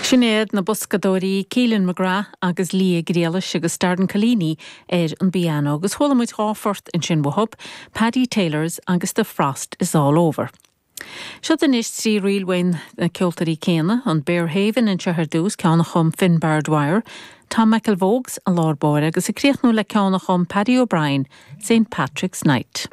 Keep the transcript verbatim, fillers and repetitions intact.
Sin iad na boscadóirí Keelan McGrath agus Lia Griallais agus Darren Collini ar an bpianó agus chuala muid dhá phort ansin uathu, Paddy Taylor's agus The Frost is All Over. Seo anois trí ríl ó na ceoltóirí céanna an Bearhaven anseo ar dtús ceann a chum Finbar Dwyer, Tom McElvogues i lár báire agus ag críochnú le ceann a chum Paddy O'Brien, St Patrick's Night.